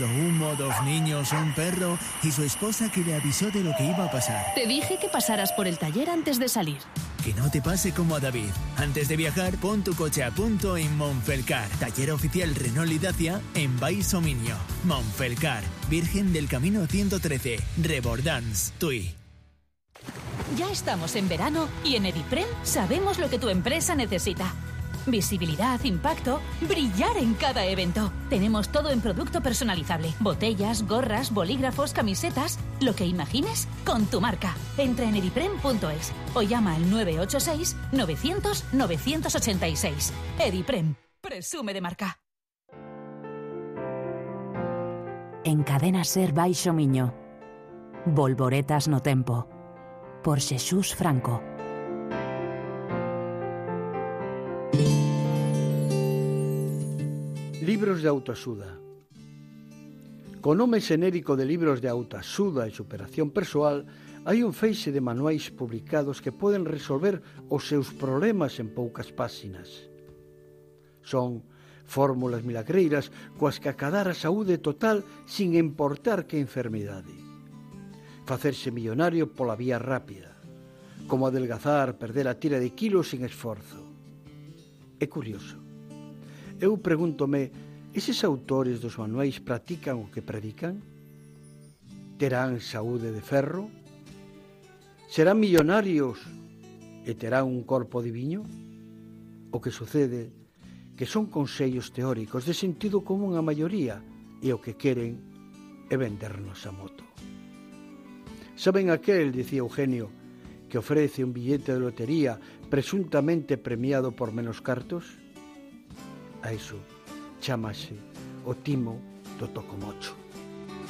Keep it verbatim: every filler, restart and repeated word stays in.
buscando humo, dos niños, un perro y su esposa que le avisó de lo que iba a pasar. Te dije que pasaras por el taller antes de salir. Que no te pase como a David. Antes de viajar, pon tu coche a punto en Montfelcar. Taller oficial Renault y Dacia en Baix Minio. Montfelcar, Virgen del Camino ciento trece, Rebordans, Tui. Ya estamos en verano y en Ediprem sabemos lo que tu empresa necesita. Visibilidad, impacto, brillar en cada evento. Tenemos todo en producto personalizable. Botellas, gorras, bolígrafos, camisetas. Lo que imagines con tu marca. Entra en ediprem punto es o llama al nueve ocho seis, novecientos, novecientos ochenta y seis. Ediprem. Presume de marca. En Cadena Ser Baixo Miño. Volvoretas no tempo. Por Xesús Franco. Libros de autoaxuda. Co nome xenérico de libros de autoaxuda e superación persoal, hai un feixe de manuais publicados que poden resolver os seus problemas en poucas páxinas. Son fórmulas milagreiras coas que acadar a saúde total sin importar que enfermidade. Facerse millonario pola vía rápida, como adelgazar, perder a tira de kilos sin esforzo. É curioso. Eu pregúntome, eses autores dos manuais practican o que predican? Terán saúde de ferro? Serán millonarios e terán un corpo diviño? O que sucede que son consellos teóricos de sentido común a maioría e o que queren é vendernos a moto. Saben aquel, dicía Eugenio, que ofrece un billete de lotería presuntamente premiado por menos cartos? A iso chámase o timo do tocomocho.